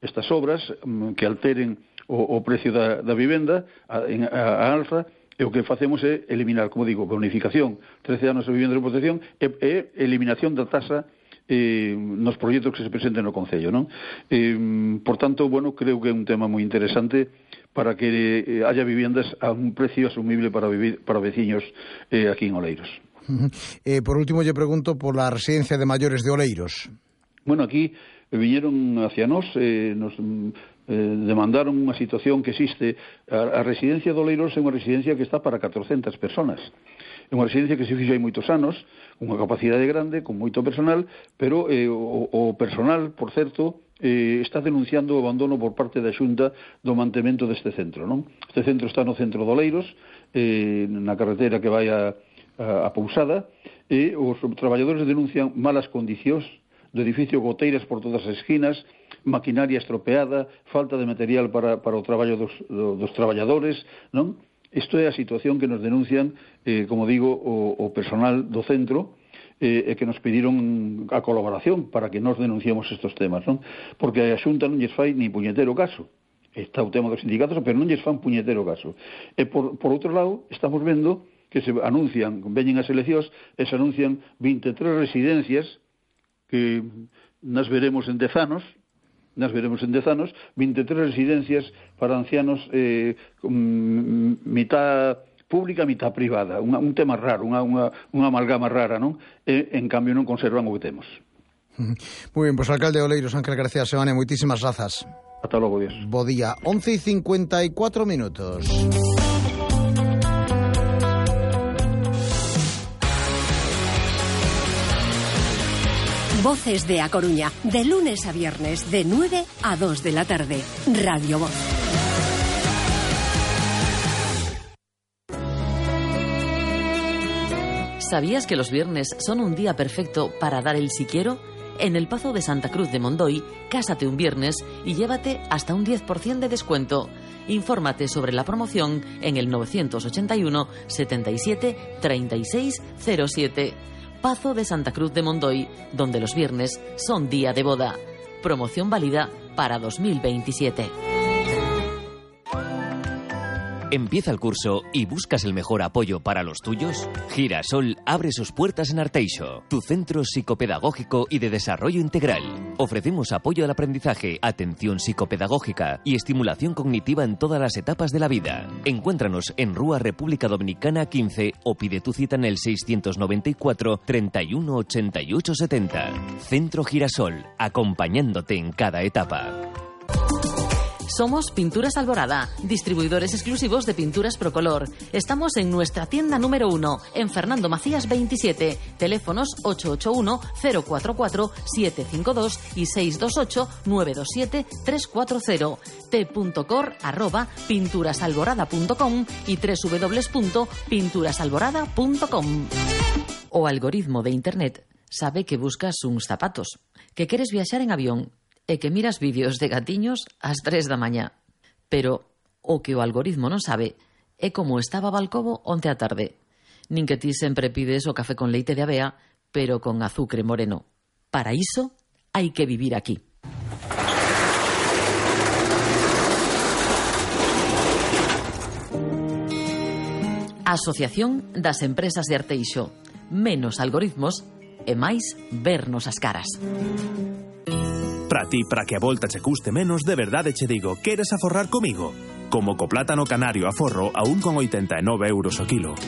estas obras que alteren o precio da vivenda a alza, e o que facemos é eliminar, como digo, bonificación, 13 anos de vivenda de protección e eliminación da tasa nos proxectos que se presenten no Concello, non? Por tanto, bueno, creo que é un tema moi interesante para que haya viviendas a un precio asumible para veciños aquí en Oleiros. Por último, yo pregunto por la residencia de mayores de Oleiros. Bueno, aquí viñeron hacia nos demandaron unha situación que existe. A residencia de Oleiros é unha residencia que está para 400 personas. É unha residencia que se fixo hai moitos anos, unha capacidade grande, con moito personal, pero o personal, por certo, está denunciando o abandono por parte da Xunta do mantemento deste centro, non? Este centro está no centro de Oleiros, na carretera que vai a Pousada, e os traballadores denuncian malas condicións do edificio, goteiras por todas as esquinas, maquinaria estropeada, falta de material para o traballo dos traballadores, non? Isto é a situación que nos denuncian, como digo, o personal do centro, e que nos pediron a colaboración para que nos denunciemos estes temas, non? Porque a Xunta non lles fai ni puñetero caso. Está o tema dos sindicatos, pero non lles fan puñetero caso. E por outro lado, estamos vendo que se anuncian, veñen as eleccións, e se anuncian 23 residencias que nas veremos en 10 anos, 23 residencias para ancianos, mitad pública, mitad privada, un tema raro, unha amalgama rara, non? E, en cambio, non conservan o que temos. Muy bien, pues alcalde de Oleiros, Ángel García Seoane, moitísimas grazas. Ata logo, Dios. Bo día, 11:54 minutos. Voces de A Coruña, de lunes a viernes, de 9 a 2 de la tarde. Radio Voz. ¿Sabías que los viernes son un día perfecto para dar el si quiero? En el Pazo de Santa Cruz de Mondoy, cásate un viernes y llévate hasta un 10% de descuento. Infórmate sobre la promoción en el 981 77 36 07. Pazo de Santa Cruz de Mondoy, donde los viernes son día de boda. Promoción válida para 2027. ¿Empieza el curso y buscas el mejor apoyo para los tuyos? Girasol abre sus puertas en Arteixo, tu centro psicopedagógico y de desarrollo integral. Ofrecemos apoyo al aprendizaje, atención psicopedagógica y estimulación cognitiva en todas las etapas de la vida. Encuéntranos en Rúa República Dominicana 15 o pide tu cita en el 694 31 88 70. Centro Girasol, acompañándote en cada etapa. Somos Pinturas Alborada, distribuidores exclusivos de pinturas Procolor. Estamos en nuestra tienda número 1, en Fernando Macías 27, teléfonos 881-044-752 y 628-927-340, t.cor@pinturasalborada.com y www.pinturasalborada.com. O algoritmo de internet sabe que buscas uns zapatos, que queres viaxar en avión, e que miras vídeos de gatiños ás 3 da mañá. Pero o que o algoritmo non sabe é como estaba Balcobo onte á tarde. Nin que ti sempre pides o café con leite de avea, pero con azucre moreno. Para iso hai que vivir aquí. Asociación das Empresas de Arteixo. Menos algoritmos e máis vernos as caras. Para ti, para que a volta che custe menos, de verdade che digo, queres aforrar comigo? Como co plátano canario a forro a 1,89 euros o kilo.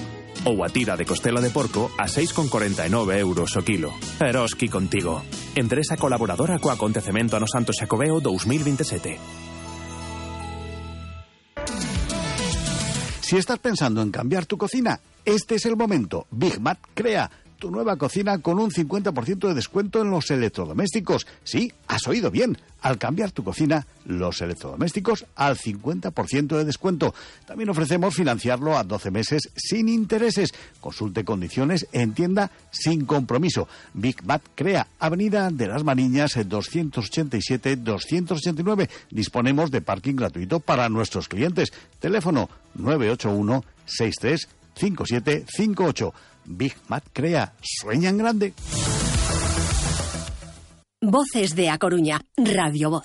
Ou a tira de costela de porco a 6,49 euros o kilo. Eroski contigo. Empresa colaboradora co acontecemento ano Santo Xacobeo 2027. Si estás pensando en cambiar tu cocina, este es el momento. Big Mat crea tu nueva cocina con un 50% de descuento en los electrodomésticos. Sí, has oído bien. Al cambiar tu cocina, los electrodomésticos al 50% de descuento. También ofrecemos financiarlo a 12 meses sin intereses. Consulte condiciones en tienda sin compromiso. Big Mat crea Avenida de las Mariñas 287-289. Disponemos de parking gratuito para nuestros clientes. Teléfono 981 63 5758. Big Mat crea. Sueña en grande. Voces de A Coruña, Radio Voz.